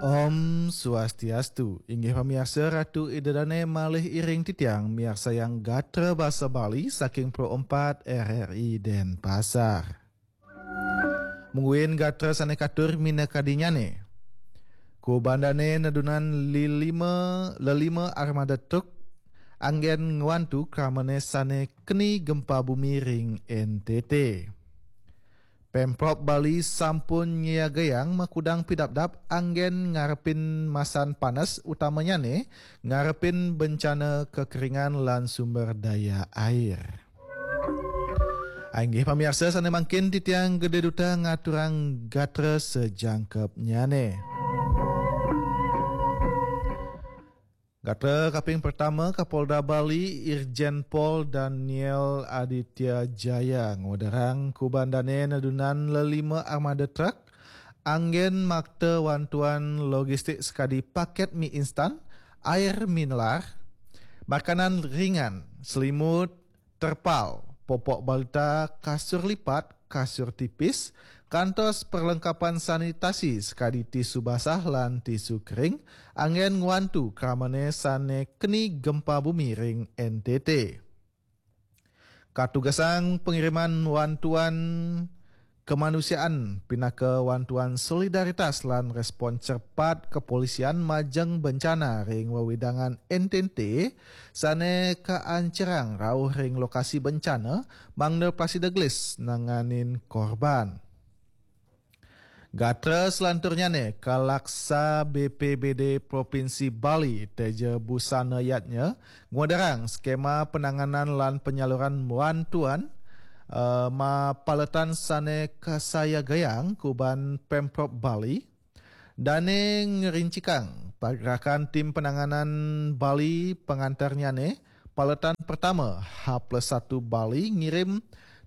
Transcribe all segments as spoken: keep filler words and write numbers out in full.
Om Swastiastu, inggih pamiarsa, Ratu Ida Dane malih iring titiang miarsayang gatra basa Bali saking Pro empat R R I Denpasar. Mungguing gatra sane katur minakadinyane. Kubandane nedunan lilima, lelima armada truk anggen ngwantu kramane sane keni gempa bumi ring N T T. Pemprov Bali sampun nyiagayang makudang pidabdab anggen ngarepin masan panes, utamanyane ngarepin bencana kekeringan lan sumber daya air. Inggih pamiarsa, sane mangkin titiang Gede Duta ngaturang gatra sajangkepnyane. Gatra kaping pertama, Kapolda Bali, Irjen Pol Daniel Aditya Jaya, ngwedarang kubandane nedunan lelima armada truk anggen makta wantuan logistik sekadi paket mi instan, air mineral, makanan ringan, selimut, terpal, popok balita, kasur lipat, kasur tipis, kantos perlengkapan sanitasi sekadi tisu basah lan tisu kering, anggen ngwantu kramane sane keni gempa bumi ring N T T. Katugasang pengiriman wantuan kemanusiaan pinaka wantuan solidaritas lan respon cepat kepolisian majeng bencana ring wewidangan N T T sane kaancerang rauh ring lokasi bencana, mangda prasida gelis nanganin korban. Gatra selanturnyane, Kalaksa B P B D Provinsi Bali, Teja Busana Yatnya, ngwedarang skema penanganan lan penyaluran bantuan, eh, mapaletan sane kasayagayang kuban Pemprov Bali. Dane ngerincikang pagrakan tim penanganan Bali pangantarnyane, paletan pertama, H plus satu Bali ngirim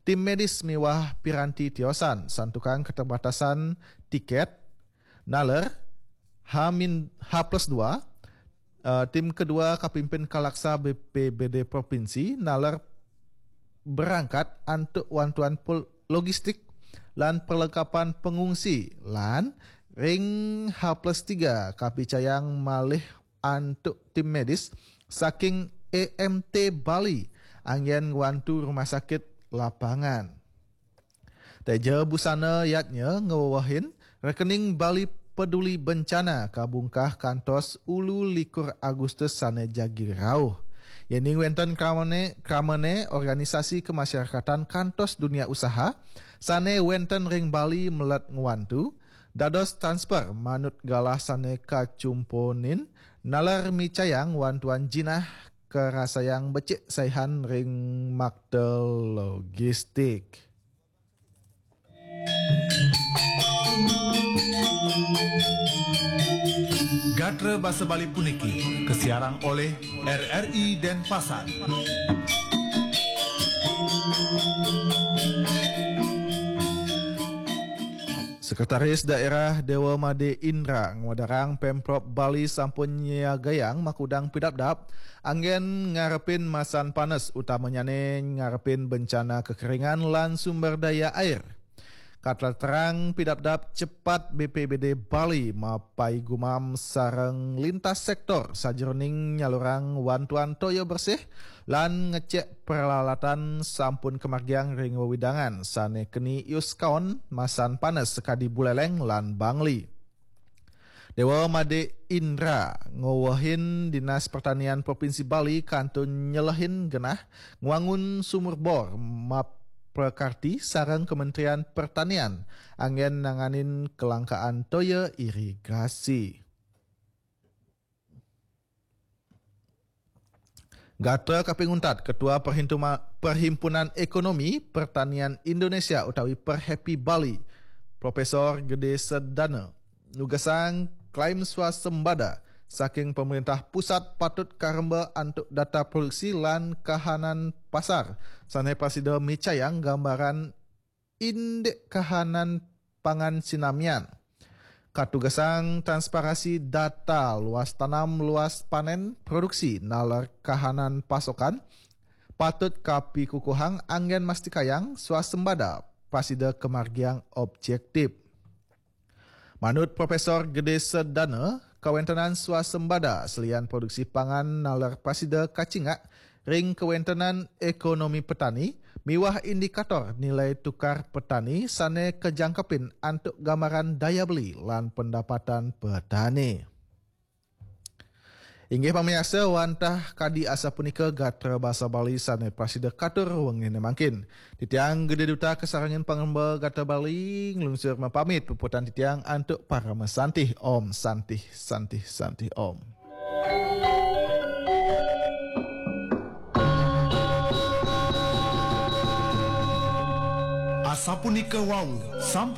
tim medis miwah piranti tiosan, santukan keterbatasan tiket, naler, H min-, H plus dua, eh, tim kedua kapimpin Kalaksa B P B D Provinsi, naler berangkat antuk wantuan pol-, logistik lan perlengkapan pengungsi, lan ring H plus tiga kapicayang malih antuk tim medis saking A M T Bali anggen ngwantu rumah sakit lapangan. Teja Busana Yatnya ngewewehin, rekening Bali Peduli Bencana kabungkah kantos ulu likur Agustus sane jagi rauh. Yening wenten kramane, kramane organisasi kemasyarakatan kantos dunia usaha sane wenten ring Bali melet ngwantu, dados transfer manut galah sane kacumponin, naler micayang wantuan jinah karasayang becik saihan ring makta logistik. Gatra basa Bali puniki kasiarang oleh R R I Denpasar. Sekretaris Daerah Dewa Made Indra ngwedarang Pemprov Bali sampun nyiagayang makudang pidabdab anggen ngarepin masan panes, utamanyane ngarepin bencana kekeringan lan sumber daya air. Kataterang pidabdab cepat B P B D Bali mapaigumam sareng lintas sektor sajeroning nyalurang wantuan toya bersih lan ngecek peralatan sampun kamargiang ring wewidangan sane keni iuskaon masan panes sakadi Buleleng lan Bangli. Dewa Made Indra ngowehin Dinas Pertanian Provinsi Bali kantun nyelehin genah ngwangun sumur bor maprakarti sareng Kementerian Pertanian anggen nanganin kelangkaan toya irigasi. Gatra kaping untat, Ketua Perhintuma-, Perhimpunan Ekonomi Pertanian Indonesia utawi Perhepi Bali, Profesor Gede Sedana, nugasang klaim swasembada saking pemerintah pusat patut karemba antuk data produksi lan kahanan pasar sane prasida micayang gambaran indik kahanan pangan sinamian. Katugasang transparasi data luas tanam, luas panen, produksi, naler kahanan pasokan patut kapikukuhang anggen mastikayang swasembada prasida kamargiang objektif. Manut Profesor Gede Sedana, kawentenan swasembada selian produksi pangan naler prasida kacingak ring kawentenan ekonomi petani miwah indikator nilai tukar petani sane kajangkepin antuk gambaran daya beli lan pendapatan petani. Inggih pamiarsa, wantah kadi asapunika gatra basa Bali sane prasida katur wengine mangkin. Titiang Gede Duta kasarengin pangremba gatra Bali nglungsur mapamit, puputang titiang antuk parama santih. Om Santih, Santih, Santih Om. Asapunika wau, sampun